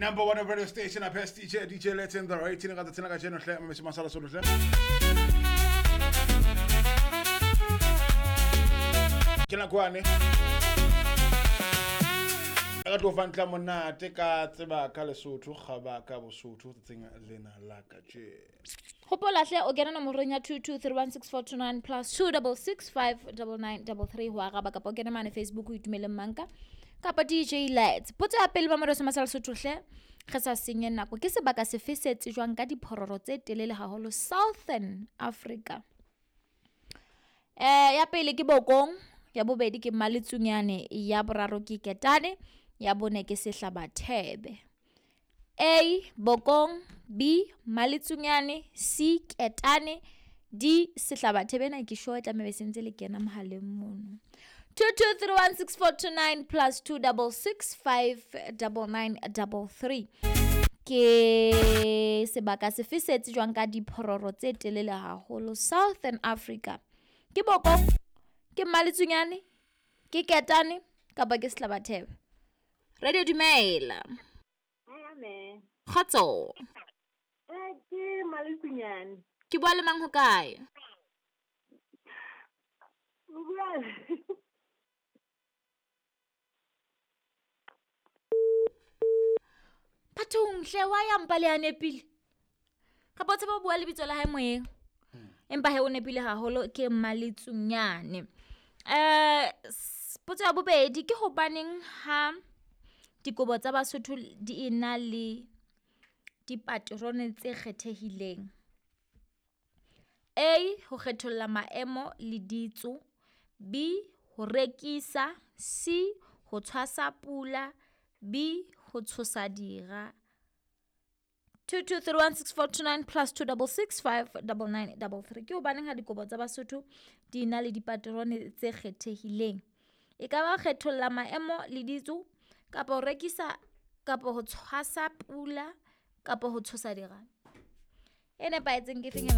Number one radio station, best DJ, DJ Let's in the right ka tsena ka jeno hle mme masala solo hle. Ke nakwane. Ka tlo fa ntla monate ka tseba ka Lesotho gaba ka Bosotho tsatsing lena la ka je. Hopola hle o kena nomorong ya 22316429 plus 26659933 ho araba kapa o kene mane Facebook o itumele manka kapa DJ Lights. Potso ya pele ba Moreso Masala Sotho hle re sa senye nako, ke sebaka sefe se tsejwang ka diphororo tse telele haholo Southern Africa? Ya pele ke Bokong, ya bobedi ke Maletsunyane, ya boraro ke Ketane, ya bone ke Sehlabathebe. A Bokong, B Maletsunyane, C Ketane, D Sehlabathebe. Na ke sure tlameha be sentse le kena mohaleng mono. 22316429 plus 26659933. Ke sebaka sefe se tsejwang ka diphororo tse telele haholo Southern Africa? Ke Bokong, ke Maletsunyane, ke Ketane kapa ke Sehlabathebe? Radio dumela. Amen. Kgotso. Ke Maletsunyane. Ke bua le mang ho kae? O bua Bathong hle wa ya mpa le a nepile. Kapa o tseba ho bua lebitso la hae moyeng. Empa he o nepile haholo, ke Maletsunyane. Potso ya bobedi ke hobaneng ha dikobo tsa Basotho di ena le dipaterone tse kgethehileng? A, ho kgetholla maemo le ditso, B, ho rekisa, C, ho tshwasa pula, B, ho tshosa dira. 22316429 plus 26659933. Ke hobaneng ha dikobo tsa Basotho di na le dipaterone tse kgethehileng? E ka ba kgetholla maemo le ditso, kapa ho rekisa, kapa ho tshwasa pula, kapa ho tshosa dira. E nepahetseng ke feng ya